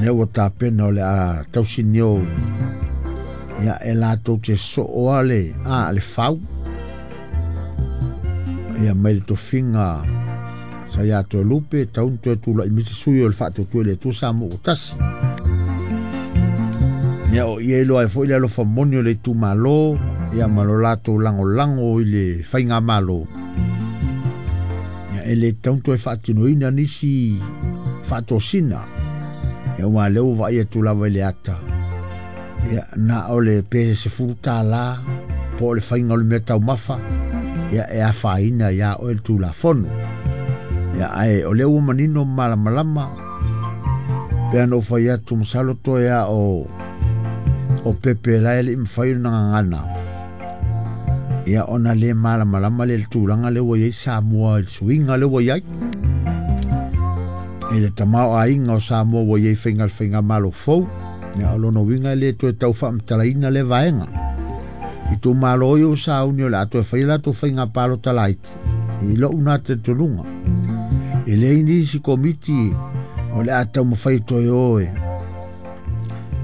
Lea ua tapena o le a tausinio ia e latou te soo ale a le fau ia mai le tofiga sa ia Toelupe taunu toe tula'i mai se sui o le Faatuatua i le Atua Samoa ua tasi. Ia o ia iloa ai foi le alofa moni o le itumalo ia ma lo latou lagolago i le faigamalo. Ia e le tatau ona toe faatinoina nisi faatosina. Ia aua o lea ua vaai atu lava i le ata, ia na o le pe $10 po o le faiga o le mea taumafa, ia e afaina iā oe le Tulafono. Ia ae o lea ua manino ma malamalama, pei ona ou fai atu, masalo toe a o Pepe la e le i mafai ona gagana, ia ona le malamalama lea i le tulaga lea ua i ai Samoa i le suiga lea ua i ai. I le tamaoaiga o Samoa ua i ai faiga le faigamalo fou, ia o lona uiga e le toe tau faamatalaina lea vaega. Itumalo ia ua sauni o le a toe fai latou faiga palota laiti, i lou na talitonuga. E leai nisi komiti o le a taumafai toe o e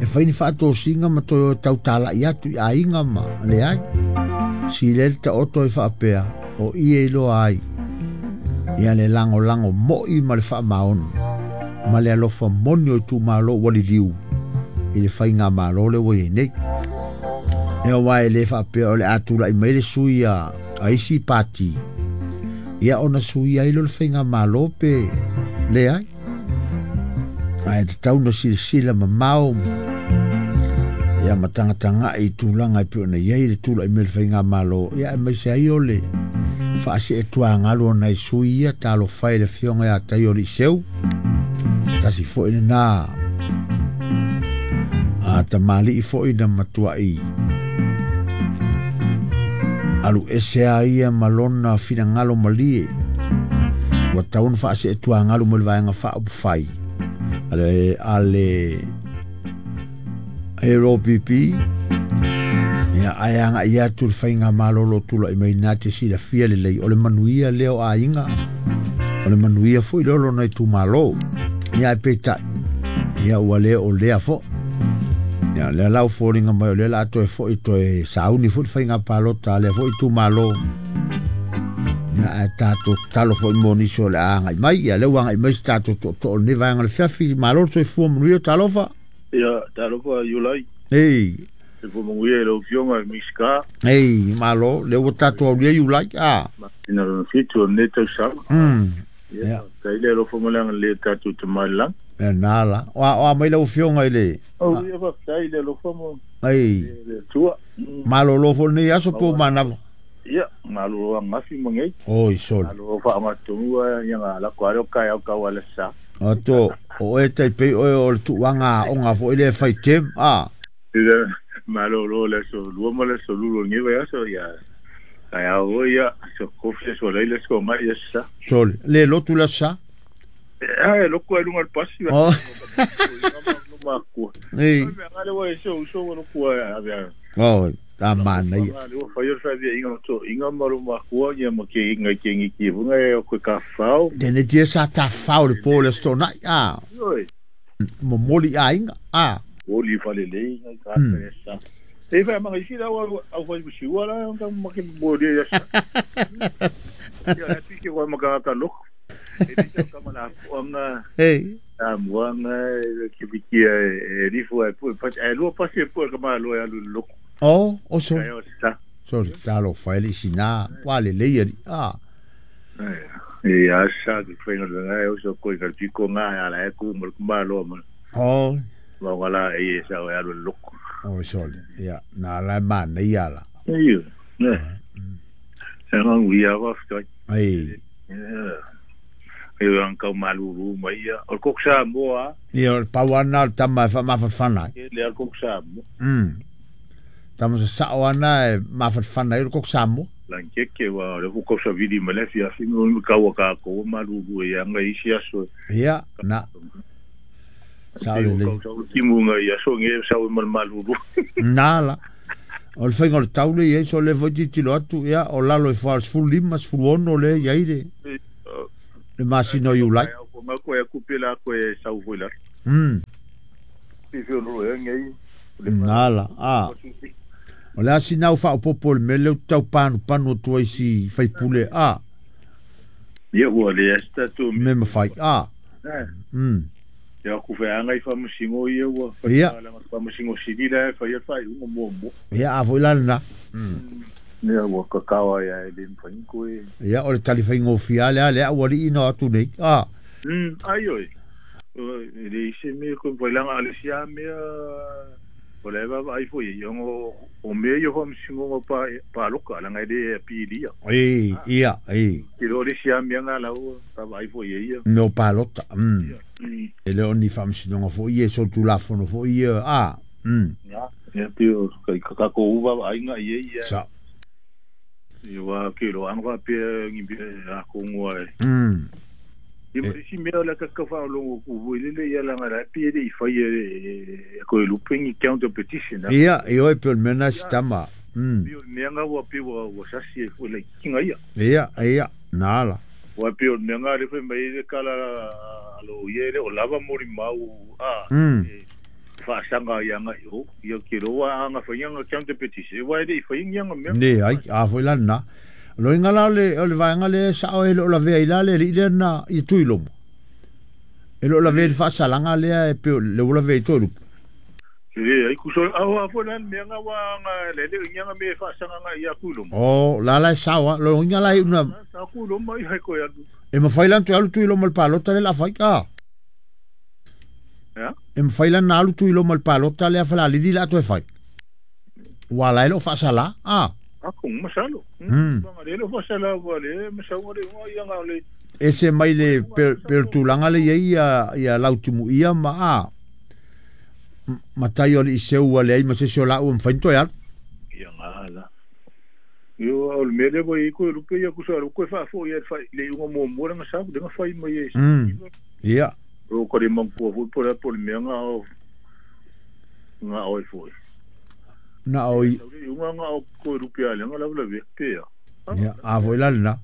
fai ni faatosina ma toe o e tautalai atu i aiga ma leai. Sili ai le taoto e faapea o ia iloa ai ia le lagolago moi ma le faamaoni ma le alofa moni o itumalo ua liliu i le faigamalo lea ua i ai nei. E aua e le faapea o le a tulai mai le sui a isi pati ia ona sui ai lea o le faigamalo pe leai. Ae tatau na silasila mamao ia ma tagatagai i tulaga e pei ona i ai le tulai mai o le faigamalo, ia aemaise ai o le faaseetuagalu o nai sui ia. Talofa e i le afioga ia Taio Liiseu, tasi foi lena a tamalii foi na matuai alu ese a ia ma lona finagalo malie ua tatau ona faaseetuagalu mai le vaega faaupufai a le LPP, ia ae agai atu le faigamalo o lo o tulai mai na te silafia lelei o le manuia lea o aiga, o le manuia foi lea o lona itumalo. Ia ae peitai ia ua le o lea foi. Ia lea la ua foliga mai o lea la toe foi toe sauni foi le faiga palota a lea foi itumalo. Ia ae tatou tatalo foi mo nisi o le a agai mai. Ia lea ua agai mai se tatou tootoo o lenei vaega o le fiafi. Malo le soifua manuia, talofa. Ia, talofa Iulai. Ei. Soifua manuia i lau Afioga i le Minisita. Ei, malo, lea ua tatou aulia Iulai. A. Masina lona 7 o lenei tausaga. Ia, faafetai le alofa ma le agalelei o tatou Tama i le Lagi. E nā la. O a mai lau Afioga i le... O ia faafetai i le alofa ma Ei. le Atua. Malolo foi lenei aso po o manava. Ia, malolo angafi ma nei. Oi, sole. Malolo faaaogatonu ia nga lako ale o kaeao kau ala sa. Ato, o oe tai pei oe o le tuuaga aoga foi lea e fai term, a. Ia, malolo le aso lua ma le aso lulu o lenei vaiaso, ia, kaeao foi, ia, so kofi aso laila aso ngai aso sa. Sole, le lotu le aso sa? E, e loku ai lunga le pasi. Oh. Ei. Mea ngale ua e se uso ua loku ai ave a. Oh, a manaia. Ngale ua fai o le whaavia inga to inga ma lo makua ia ma ke inga i ke ngi ki vunga e o koe ka whao. Tene tia sa ta whao le pō le aso nai, a. Oi. Momoli a inga, a. Oli whale le inga i ka ata e sa. E whai manga isi la au au whai msiua la ka ma ke moli e sa. Ia atu ke wai maka ka loko. E te tau ka mana puanga. Ei. A muanga e ke pikia e rifo e pu pa e lua pasi e pu ka malo e alu loko. Oh, o so. Kai o sa. Sorry, talo fai le sina, wa le le ia. Ah. E a sa ke whainga le ngai o so koi ka piko ngā ala e ku mo ku malo ma. Oh. Ma ngala e sa o alu loko. Oh, sorry. Ia, na la ma nei ala. Ei. Ne. E ngā ui a wa ftai. Ei. E ang kau maluru mai ia. O kok sa moa. Ia, o le pau ana o le tama e faamafanafana ai. E le al kok sa moa. Tama sa sao ana e mafanafana ai o le kok sa moa. Langkeke wa le ku sa vili ma le fia fi mo kau ka ko maluru e anga isi aso. Ia, na. Sa le le. Kau sa timu nga ia so nge sa o mal maluru. Na la. O le faiga o le taule i ai so le foi titilo atu ia o lalo e fa 15 16 le i ai le. Le masina o Iulai. Ko ma ko e kupe la ko e sau foi la. Nala a o le asina o faaopopo le mea lea ou te taupanupanu atu ai si faipule a ia ua le asi tatou mea mafai a ia ku feaga i faamasino ia ua ia faamasino sili la e faia le faaiuga muamua ia a foi la lena ia ua kakao ai e le mafai koe ia o le talifaigofie lea lea ua alii na o atu nei a ai oi e le isi mea koe mafai laga a le isi a mea o le vaavaai foi ai ona o mea ia faamasinoga paloka laga e lē apilia e ia e ke lo le isi a mea ga lau vaavaai foi ai ia mea o palota e le o ni faamasinoga foi ia so tulafono foi ia a ia pe o ka takou vaavaaiga i ai ia sa ia ua ke lo aga faapea gi mea akogoa e ia ma isi mea o le kaka faalogo ku foi lele ia laga la pe le i fai e koe lupe ni counter petition ia e oi pe o le mea na sitama pe o le mea ga ua pe ua sasi e foi laikikiga ia ia ia nala ua pe o le mea ga le fai mai le kala alo ia le o lava molimau a faasaga ia agai o ia ke loa aga faiga counter petition ua e le i faiga aga mea le ai a foi la na loiga la o le vaega lea sao e loo lavea i la le alii lea na i tui loma e loo lavea i le faasalaga lea e pe le ua lavea i toe lupe le ai ku so a foi la mea nga wa nga le le nga me faasaga nga ia ku loma o la la e sao a loiga la una sa ku loma i hai ko ya e mafai la toe alu tui loma le palota le la fai a ya e mafai la na alu tui loma le palota lea falalili la toe fai ua la e loo faasala a ako masalo nga le le faasala wa le masau le nga ia nga le ese mai le pe tulaga le iai ia lautumu ia ma a matai o le iseu ua leai ma se isi o laua mafai ona toe alu ia nga la io o le mea lea ua i koe lupe ia kusa lo koe faafoi ia le iuga muamua le gasau le gafai mai e ia o ka le manatua foi po le po le mea nga o nga oe foi na o i iuga nga o koe lupe a le nga lava lavea pe ia ia a foi la lena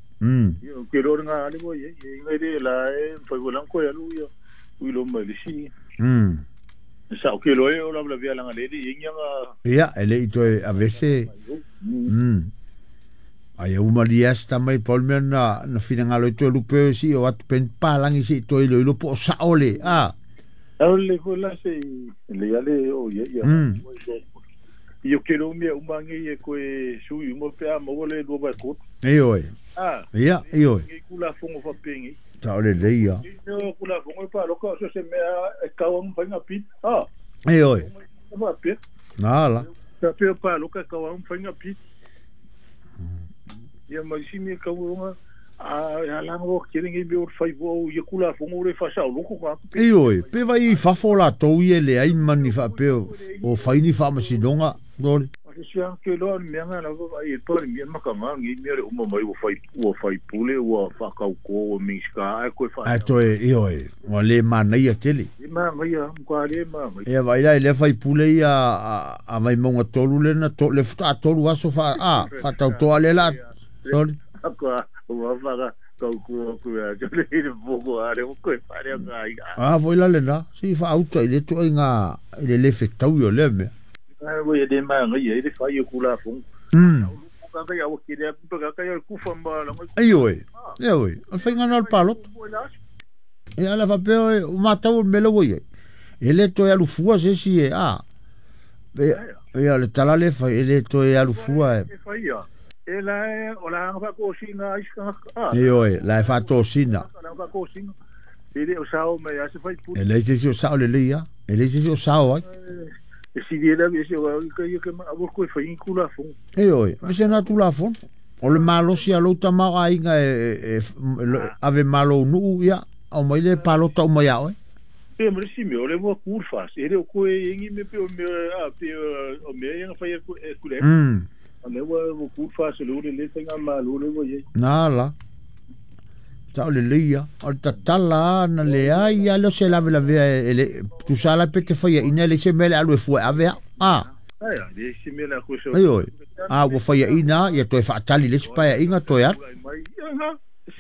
ia ke lo nga ale ua i ai inga le la e fai foi lang koe alu ia ui lo mai le si sa o ke lo e o lava lavea langa le le inga nga ia e le i toe avese ai uma lias tamai paul mea na finagalo i toe lupe si o atu pen palangi si toe iloilo po o sao le a ao le foi la se le ale o ia ia ia ke lo mea uma ngi e koe sui uma pe a maua le lua vai koto e oi a ia e oi ngi kula fongo fa pengi ta o le leia ia kula fongo pa loka so se mea e kau ang fainga pi a e oi fa pe nala ta pe pa loka kau ang fainga pi ia mai si mea kau nga a langa o kere ngi me o fai vo ia kula fongo le fa sa loko ka e oi pe vai i fafo la tou ia le ai mani fa pe o faini fa masinoga dole a se sia ke lo mea nga la vai e pa mea maka nga ngi mea le uma mai ua fai pule ua fa kau ko ua minska ai koe fa ai toe e oi ua le manaia tele e ma ngai ka le ma ngai e vai la le fai pule ia a vai monga tolu le na to le fa tolu aso fa a fa tau toa le la sorry ka ua fa kau ko ko ya le le boko a le ko fa le ka a voi la le na si fa auta i le toi nga i le le fetau yo le mea ai voi le ma ngai e le fa yo kula fong ka ka ya o ke le ka ka ya ku fa ma la ai oi e oi o fa nga na palot e ala fa pe o matau me lo voi e le toi alu fua se si e a e ia le tala le fa e le toi alu fua e fa ia e la o la fa ko sina iska a e oi la fa to sina la fa ko sina e le o sao me ya se fa pu e le se o sao le le ia e le se o sao ai e si le la se o ka ia ke ma o ko fa in kula fon e oi me se na tu la fon o le malo sia lo tama ai nga e ave malo nu ia o mai le palota o mai oi pe mo si me o le vo kur fa e le ko e ngi me pe o me a pe o me ia fa ia ku le a me ua kur fa se lo le le nga malo le vo ye na la ta o le leia o tatala na le ai ia lo se lave lavea e le tu sala pe te faia ina le se mele alu e fua ave a ai le se mele ko se ai oi a ua faia ina ia toe faatali le isi paeaiga toe alu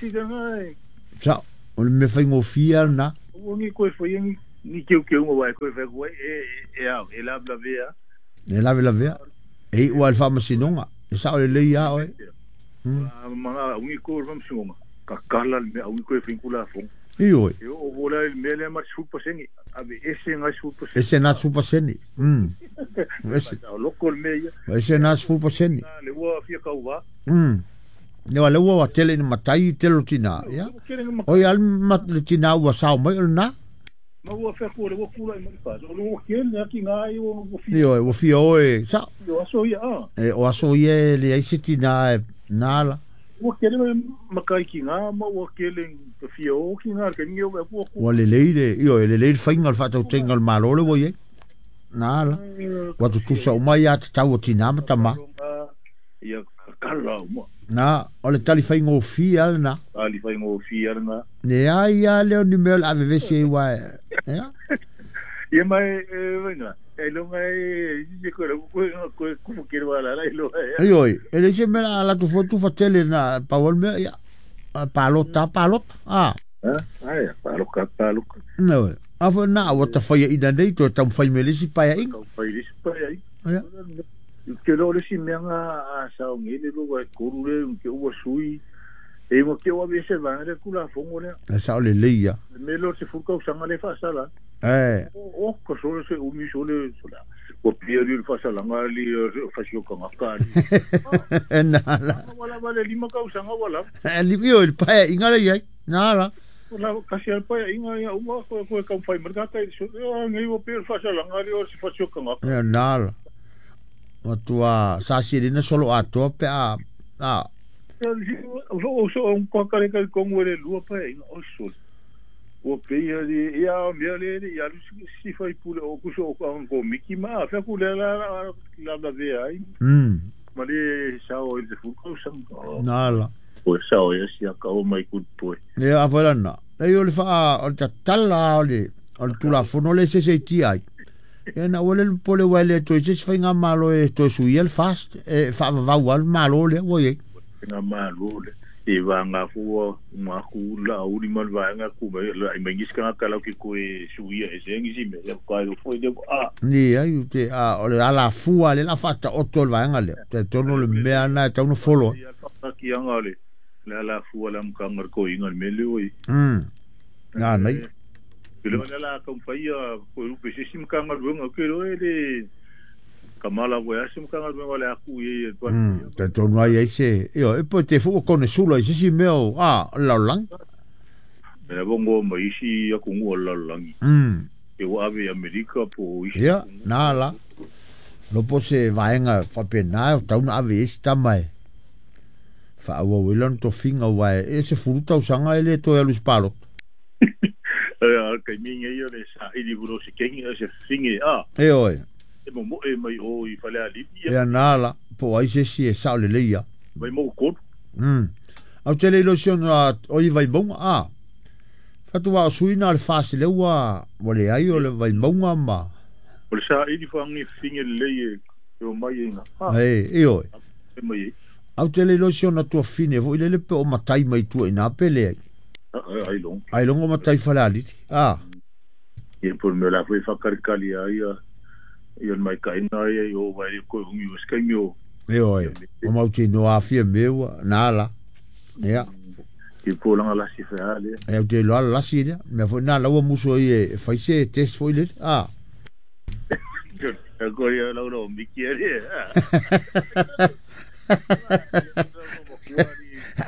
si sa o le mea faigofie lena ua gi koe faia gi Ni keu keu ngā wai koe whai koe e au, e lawe lavea. E lawe lavea. E i ua le whaamasinoga. E sao le lei a oe. Mga ungi koe le whaamasinoga. Ka kala le mea ungi koe whinkula fonga. I oi. E o vola le mea lea ma 10%. Ave ese ngai 10%. Ese nā 10%. Ese. Loko le mea ia. Ese nā 10%. Le ua fia kauwa. Ne wa le ua tele ni matai tele o tina. Ia. Oi al mat le tina ua sao mai o na. Ma ua fia kua le ua kula i mani O le ua kele aki ngai ua fia. Io ua fia oe. Sa. O aso ia a. E o aso ia le ai se tina e nala. Ua kele makai ki ngā, ma ua kele ka fia o ki ngā, ka ningi o ua kua. Ua le leire, io e le leire whainga le whaatau tenga le malo le wai e. Nala. Ua tutusa umai a te tau o tina matama. Ia kakala uma. Nā, o le tali whainga o fia ale nā. Tali whainga o fia ale nā. Ne ai a leo ni mea le avevese i wae. Ia? Ia mai, wainga. E longa e se koe koe koe kufu kere wala la ilo e. Ai oi, e le se mea la tu fotu fatele na pawal mea ia. Palota palota. Ah. Ai, paloka paloka. No. Afa na wa ta fai ina nei to tam fai melisi pa ia. Tau fai lisi pa ia. Ia. Ke lo le si mea a sa ngele lo wa koru le ke ua sui. E mo ke ua vese vangere kula fongo le. Sa le leia. Me lo se fuka usanga le fa sala. Eh. O ko sole se umi sole sola. Ko pieri le fa sala ngali fa sio ka ngaka. Nala. Wala wala lima ka usanga wala. Li io il pa inga le ia. Nala. Wala kasi al pa inga ia uma ko ko ka fai merka so ngai o pieri fa sala ngali o se fa sio ka ngaka. Nala. O tua sa si na solo a to pe a a o so un ko ka ka kongo le lua pa inga o so. O peia le ia mea le ia si fai pule o kuso o ko miki ma fa ku le la la la ve ai. Ma le sao i te fuko sang. Nala. O sao ia sia ka o mai ku poi. Ia a na. E o le fa o ta tala o le o tula fono le se se ti ai. E na o le pole wa le to se fai nga malo e to su el fast e fa va wa malo le o ye. Nga malo le. E vanga fua ma ku la uri mal vanga ku la imengis ka kala ki ku e suia e sengi si me ya ka lo foi de a ni ai te a o le ala fua le la fata o tol vanga le te tono le mea na te no folo ya ki anga le la la fua la mkangar ko inga me le oi na nei le la la kom faia ko lu pe si mkangar wenga ke lo le kamala voy a sim kanga me wala ku ye te tono ai se io e poi te fu con sulo se si meo a la lang me bongo mai si aku ngo la lang e wa ave Amerika po isi ya nala lo pose vaenga fa pena ta una ave esta mai fa wa wilon to finga wa e se furuta usanga ele to ya lus palo e ka minga io le sa ili bro se kengi se finge a e oi e mo e mai o i fale ali ia nala po ai se si e sa le leia mai mo ko au tele ilusion o i vai bonga a fatua suina le fasi le ua le ai o le vai bonga ma o le sa ili fangi finge le e o mai ina e e oi e mai au tele ilusion na tua fine vo ile le pe o matai mai tua ina pele ai long ai longo matai fale ali a e por me la foi fa karkali ai ia mai ka ina ia o vai ko ungi o skai mio e oi o mauti no afia meu nala ia ki po langa la si fa ale e o te lo la si le me fo na la o muso e fai se test foi le a ko ia la lo mi quiere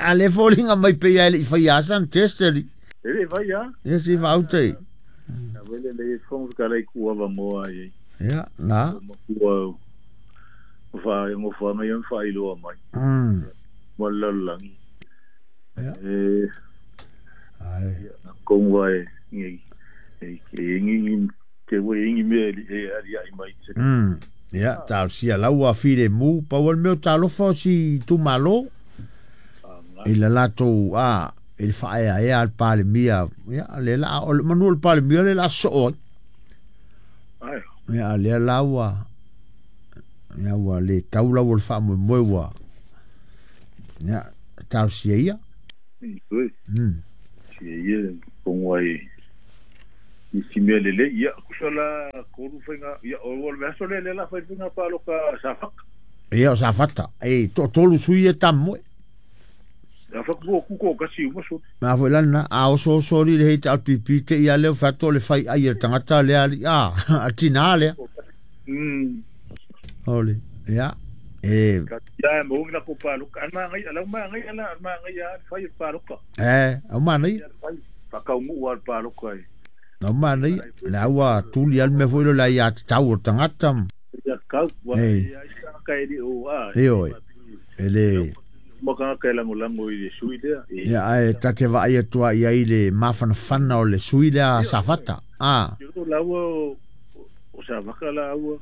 ale folinga mai pe ia i fai asan test li e vai ya e si fa aute a vele le fon ka lai ku ava mo ai ia na ua fa ngo fa mai fa ilo mai wala lang ia e ai kong wai ngi e ngi te we ngi me e ali ai mai ia ta sia la ua file mu pa wal me ta lo fa si tu malo e la lato a il fa e al pale mia ia le la o manuel pale mia le la so ai ia le la ua ia ua le taula ua fa mo mo ua ia tau sia ia si ia kong wai I si mea lelei ia kusa la kolu fainga ia o le aso le la fai fainga paloka Safata. Ia o Safata. E to tolu sui e tamoe. Ia fa ko ku ko kasi uma so. Ma foi lana a oso oso ri le heita al pipi te ia leo fato le fai ai e tangata le ali a a tina le. Ole. Ia. E ia mo ngi la ko paloka ana ngai ala ma ngai ala ma ngai a fai paloka. E au mana i. Fa ka ngu al paloka e. No mana i. La ua tuli al me foi lo la ia tau o tangata. Ia kau wa ia ka e o a. E oi. Ele maka ka lango lango i le sui lea. Ia ai tate va ia tua ia i le mafanafana o le sui lea Safata. A. La ua o Safaka la ua.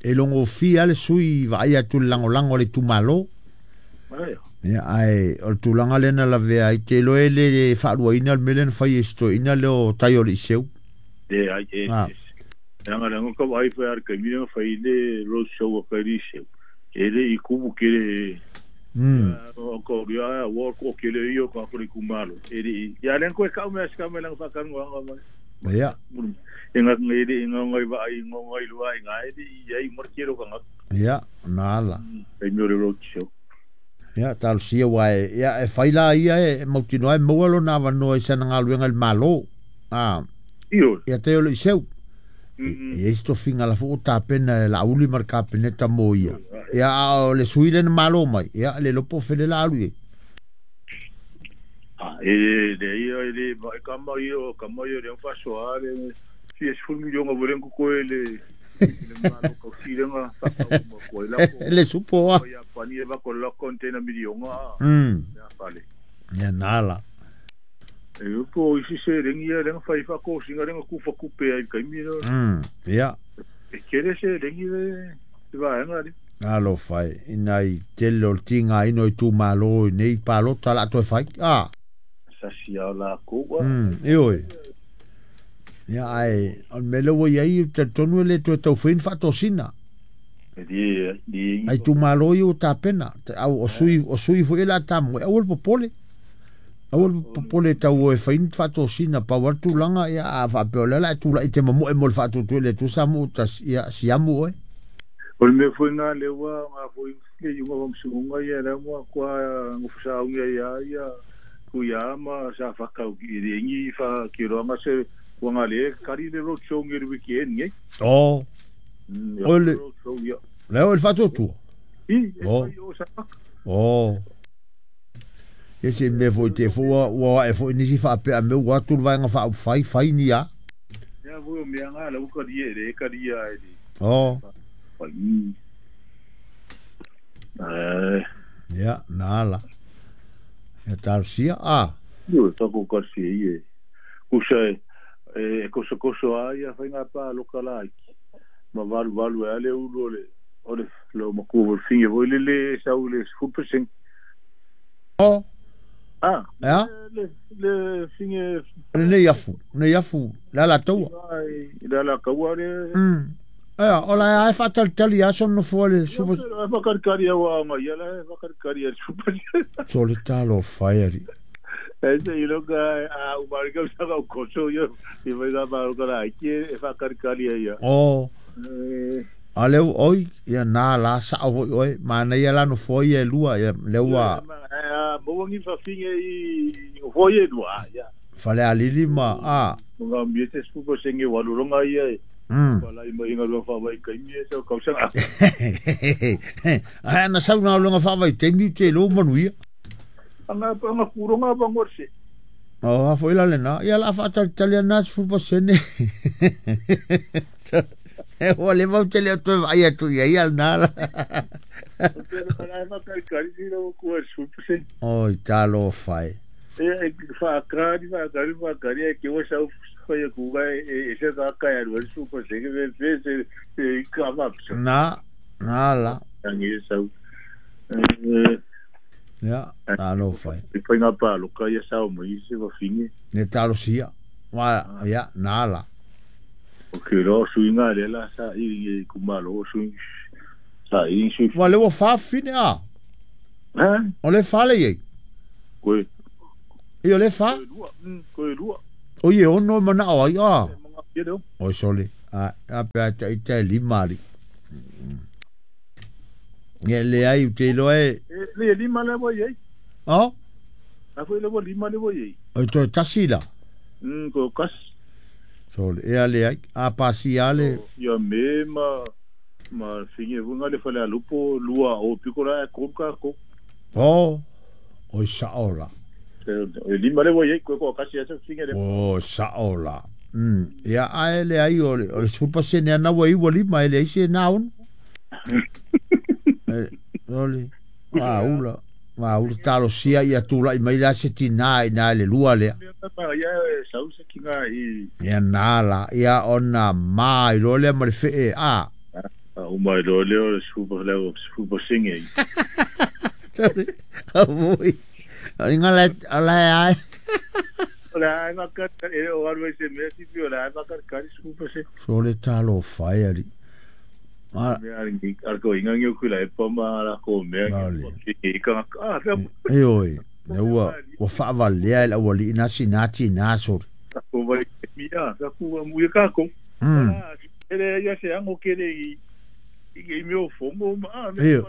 E longo fia le sui va ia tu lango lango le tumalo. Ai. Ia ai o tulanga lena la vea i te loe le faaluaina le mele na fai e sitoina le o tai o le iseu. E ai e. Anga lango ka vai fa ar ka mina fai le road show ka ri iseu. E le i kubu ke le o ko ria o ko ke le io ka ko kumalo. E le ia len ko ka me ska me lang fa kan wa ma. Ia. E nga ngai le nga ngai va ai nga ngai lua nga e ia i mar ke ro ka. Ia nala. E mi le road show. Ia tal sia wa ia e faila ia e mautino ai maua lona avanoa i sana galuega i le Malo. A. Io. Ia te o le iseu. E e tofiga la fo tapena la uli mar kapeneta mo ia. Ia o le sui le malo mai. Ia le lopo fele la alu. A e le ia le ba kama io kama io le fa so a le si es fu milionga volen ko le le malo ko silenga fa ko ko la ko le supo a. Ia pani va ko la container milionga. Ia fale. Ia nala. E po isi se rengi ia renga fai fa ko singa renga ku fa ku pe ai kai mi no. Ia. E kere se rengi le va nga ri. Alo fai ina i tele o tinga ino i tu malo nei palota la toe fai. A. Sa sia la ko wa. E oi. Ia ai on mele wo ia te tonu le toe tau fin fa tosina. E di ai tu malo i o tapena au o sui fo ela tamu au el popole. Awal popole tau e fain faatosina pau atu tulaga ia a faapea o le ala e tula'i te mamo'e mo le faatutu le tusa mo tas ia siamu oe. O le mea foi gā le ua ngā foi le iuga wamsunga ia le mua kua ngufusaunga ia ia kuia ma sa whakau ki re ngi fa ki roanga se wanga le kari le road show ngi weekend ngi. Oh. O le le o le faatutu. I o sa. Oh. E se me foi te fua ua e foi nisi faapea me ua atu le vaega faaufai fai ni a. Ia foi o mea ngā lau kari e re kari a e re. Oh. Fai. Ia, nā la. Ia talusia, a. Io, tako karsi e ie. Kusa e koso koso a ia whai ngā pā loka la iki. Ma valu valu e ale ulu ole. Ole, lau makua vol finge voi le le sau le 100%. Oh. Ah, ja? Le finge... Le afu, le afu, la la taua. La la kaua le... Ea, o la e faatalitali aso no fua le super... E whakarikari awa anga, ia la e whakarikari a super... So le talo whai ari. E se ilo ka a umarika usaka o koso ia, i vai ngā maroka la aiki e whakarikari a ia. Oh. A leu oi, ia nā la sa au hoi oi, mana ia la no fua ia e lua, ia leu a... Mawangi whawhinge i hoi e lua, ia. Whale a lili ma, a. Ngā mie te spupa senge waluronga ia e. Wala i mai ngā rua whawai kaimi e sau kausanga. Ai ana sau ngā runga whawai teimi te lō manuia. Anga kuronga wangor se. Oh, a foi la lena. Ia la whaatalitali ana spupa sene. E hoa le mau te leo toe vai atu ia ia nā la. Oi, talo whai. E whaakari, whaakari, whaakari, e kiwa sau whai kuga e se kākai aru super sene, e se e ka mapsa. Nā, nā la. Tangi e sau. Ia, talo whai. E whai ngā pāloka ia sau mai se wawhinge. Ne talo sia. Ia, nā la. O ke rō suinga le la sa i kumalo sui sa i sui. Wa le wa fine a. Ha? O le fa le ye. Koe. I o le fa? Koe lua. O ye ono mana o ai a. Ia leo. O sole. A a pe a ta ita e lima ali. Ia le ai u te iloa e. E le lima le ua iai. O? A foi le ua lima le ua iai. O toe tasi la. Ko kasi. Sole. E a le ai. A pasi a le. Ia me ma ma finge vunga le fale alupo lua o piko la e kolu ka ko. O. O sa ola. E lima le ua iai koe ko kasi asa finge le. O sa ola. Ia ae le ai o le 10% ana ua iwa lima e le ai se na ono. Ole. Ua ula talosia ia tula'i mai la se tinā i nā le lua lea. Ia e sau se kinga i. Ia nā la, ia ona mā i loa lea ma le fee a. Uma i loa lea o le 10% i. Sorry. Avui. Inga la ai. O le ai maka e o aru se mea tipi o le ai maka kari 10%. So le talo fai ali. Mea ari ko inga ngi ku la e pa ma la ko mea ngi ka a E oi. Ne ua ua faavalea e le auali'i na sinati na sole. Ko vai mia ka ku mu ka ko. Ele ia se ango kele i i meo fongo ma me.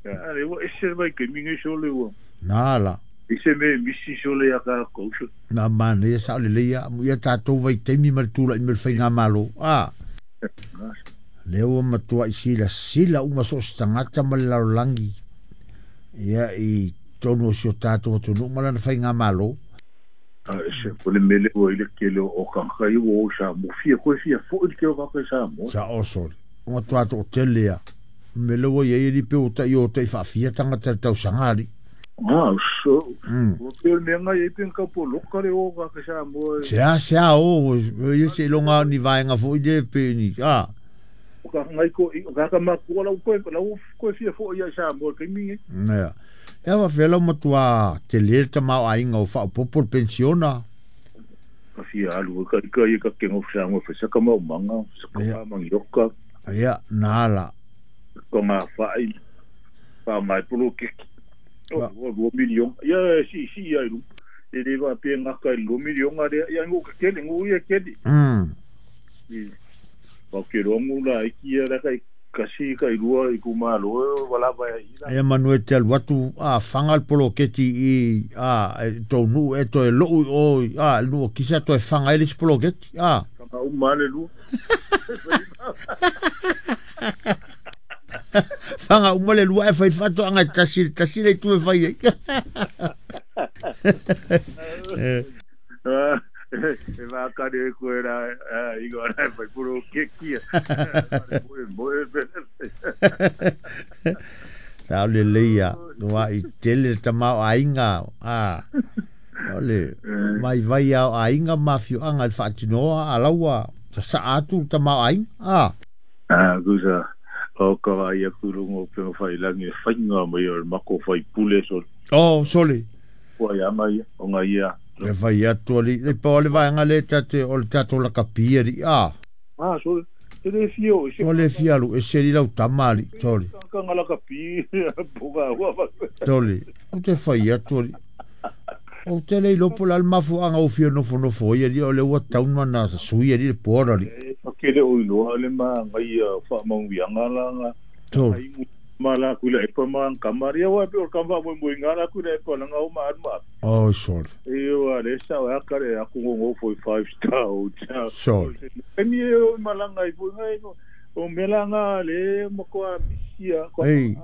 Ale ua ese vai ke mingi sole ua. Nā la. Ise me misi sole ia ka ko. Na mane sa le leia mu ia tātou vai taimi ma le tula'i me le faigamalo. A. Lea ua matua'i silasila uma so o se tagata ma le lalolagi ia i tonu o si o tātou atunuu ma lana faigamalo. A ese ko le mele ua i le kele o kaka i ua o sa mo fia koe fia fo'i le kele o kaka i sa mo. Sa o sole. Ua matua to'atele a. Mele ua iai ali pe ua ta'i o ta'i fa'afia tagata le tausaga ali. Ah, so. Ua pe o le mea ngai ai pe ka po loka le o kaka sa mo. Sea sea o ia se iloga ni vaega fo'i le pe ni a. O ka ngai ko i ka ka makua lau koe lau koe fia fo'i ia sa mo ke mingi. Nea. Ea wa fela matua te le tamaoaiga o faaopopo le pensiona. Ka fia alu ka ka ia ka kengo sa mo fa sa ka mau manga sa ka mangioka. Ia nā la. Ko ngā whai wha mai polo keki. O 2 milion. Ia si si ia ilu. E le va pe ngaka i 2 milion are ia ngo ka kele ngo ia kele. Pa ke rongu la iki ia la kai kasi kai lua i kumalo wala va ila. Ia manu e te alu atu a fanga le poloketi i a tō nuu e toe lou o a nuu kisa toe fanga e le poloketi a. Fanga uma le lua. Fanga uma le lua e fai fato anga tasi tasi le tu e fai ai. E wākare koe rā i ngā rā whai puro kekia. Moe Sa o le leia, noa i tele tamao ainga. O le mai vai ao ainga mafio anga le whaatinoa a laua sa sa atu tamao ainga. A kusa o ka vai aku rungo pe whai langi whainga mai o mako whai pule so. Oh, sole. Kua ia ngai o ngai ia. Le vai atu ali, le pa o le vaenga le tate o le tato la kapia li, a. Ah, sole. E le fio. O le fia alu, e seri lau tama ali, sole. Ka ngala kapia, puka ua. Sole, o te whai atu ali. O te lei lopo la mafu anga o fia nofo nofo ia li, o le ua tauna na sui ali le poara li. E pakele o iloa le ma ngai wha maungianga la nga. Sole. Ma la kula e pa ma kamaria wa pe o kamba mo mo ngala kula e pa nga o ma ma. Oh sole. E o ale sa o akare aku ngo fo 5 star hotel. Sole. E mi o malanga i ngai o melanga le mo ko a misia ko. Ei.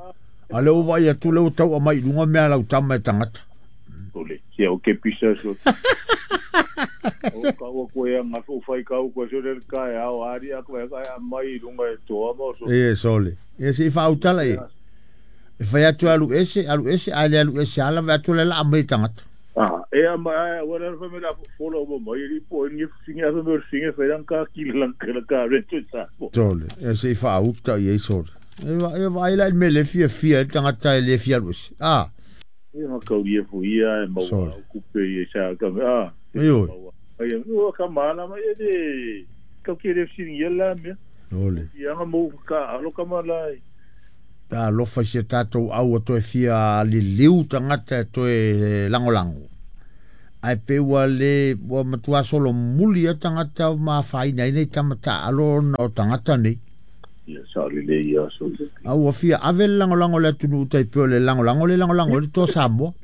Ale o vai atu le o tau mai lunga mea lau tama e tangata. Sole. Sia o ke pisa so. O ka o ko e nga fo fai ka o ko so le ka e ao ari a ko e ka mai lunga e toa mo so. E sole. E se fa utala e. E fai atu alu ese ale alu ese ala va atu le la mai tangata. Ah, e a mai wala fa me la folo mo mai ri po ni finga fa me finga fa lan ka ki lan ka ka rento sa. Sole. E se fa uta e sole. E va ila me le fia fia tangata e le fia alu ese. Ah. E ma ka uri e fu ia e mau kupe e sa ka ah. E oi. Ai o ka mala mai e ka ki le finga la me. Ole. Ia nga mo ka alo ka mala. Ta lofa se tātou au a toe fia liliu tangata toe langolango. Ai pe ua le ua matua solo muli a tagata ma afaina ai nei tama taalo ona o tagata nei. Ia sa le le ia so. A ua fia ave le lagolago le atunuu tai pei o le lagolago le lagolago ai le Toa Samoa.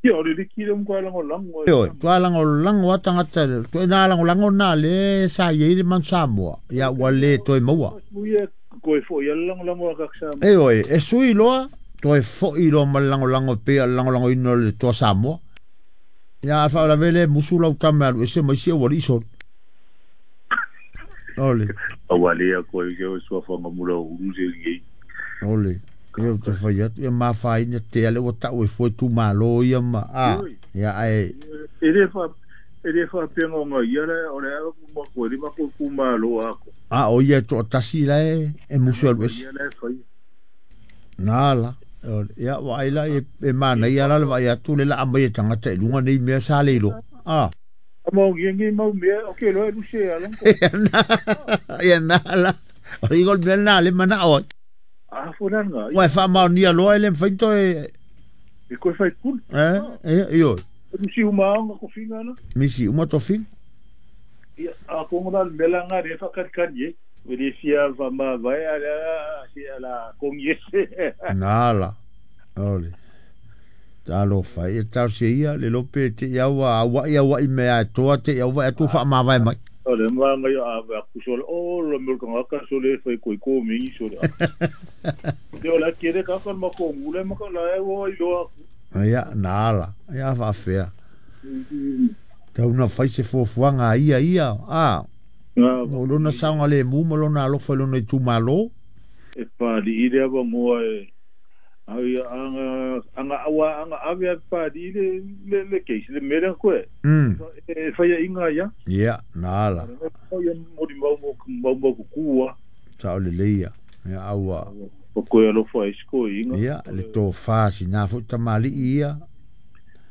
Ia o le liki le mkwa lagolago. Ioe, toa lagolago a tagata, toe na lagolago na le sa i ai le Manu Samoa, ia ua le toe maua. Ia koe foi ia lagolago a kak Samoa. Ioe, e sui loa, toe foi loa ma le lagolago e pei o le lagolagoina o le Toa Samoa. Ia a faalavelave le musu lau tama e alu ese ma isi aualii solo. Ole. Aua le koe ke o suafaga mula o ulu se ligi. Ole. Ia ou te fai atu, ia mafaina tea le ua tau e fua itumalo ia ma, a, ia ae. E le fa, e le faapea o nga ia le o le a ma koe le ma koe kumalo ako. A o ia e toatasi la e musu e alu ese. Ia la e fai. Na la. Ia vaai la e manaia la le vaai atu le laa mai e tagata i luga nei mea sa le iloa. A. Mau ngi mau mea o ke loa lu se ala. Ia na la. O le igol mea na le manao ai. A fo na nga. Ua e faamaonia loa e le mafai toe. E koe fai pule. E, ioe. Misi uma anga tofiga na. Misi uma tofiga. Ia, a kongo la mea la nga re whakatikani e. Wele fia wha ma vai a la si a la kongi ese. Na la. Ole. Talofa e talosia ia le lope te i aua auai auai mea e toa te i aua e atu whaamavae mai. O le mga ngai a a ku sole o lo mea kanga ka sole fai koi ko mingi sole. Te o la kere ka ka ma ko ngule ma ka la e o i loa. Ia, na ala. Ia whaafea. Tau na fai se fuafuaga a ia ia. A. O lona saogalemu ma lona alofa i lona itumalo. E pali i le awa moa e ai anga anga awa anga ave a pali le le le case le mele koe. E fai inga ia. Ia, na ala. O ia mori mau mau mau mau kukua. Sa o le leia. Ia aua. O koe alofa e siko inga. Ia, le tofā sina foi tamalii ia.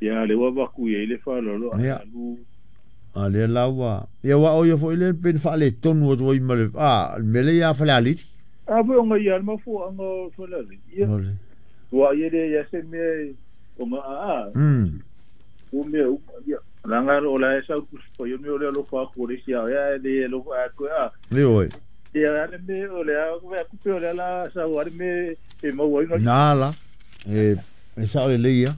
Ia le wa vaku ia i le whalolo. Ia. A lea la ua. Ia wa o ia foi le pen whaale tonu atu ai ma le, a, le mele ia whale aliri. A foi o nga ia alma fo anga whale aliri. Ia. Ole. Ua ia le ia se mea o nga a. O mea u. Ia. La nga o la e sau kuspa ia mea o le alofa aku o le sia. Ia le alofa aku a. Le oi. Ia ale me o le a o kupe o le ala sau ale me e mau ai nga. Nā la. E sao le leia.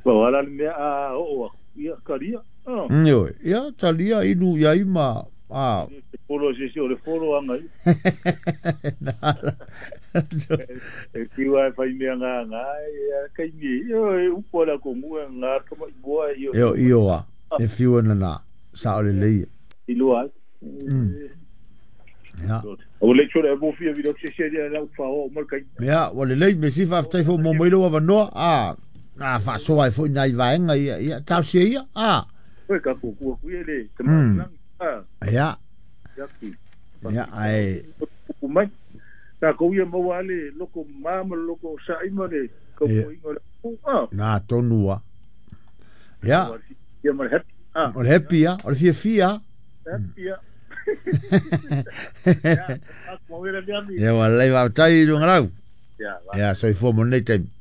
Pa wala le mea a o o ia karia. Ioe. Ia talia inu ia ima. A. E polo se se o le folo anga i. Nā la. E kiwa e whai mea ngā ngā e kai ni. Io e upo la ko mua ngā kama i boa io. Io io a. E fiu na na. Sa o le leia. I loa. Ia. O le chore e mo fia video se se ia la ufa o mal kai. Ia, ua lelei me si faafetai foi mo mai lou avanoa. A. Na faasoa ai foi nai vaega ia. Ia talosia ia. A. Koe ka ku ku ku le te malang. A. Ia. Ia ki. Ia ai. Ku mai. Ta ko ia mo ale loko mama loko saima le ko ingo le. A. Na tonua. Ia. Ia mal happy. A. O le happy ia, o le fia fia. Happy ia. Ia wa lei va tai lunga lau. Ia. Ia soifua mo nei taimi.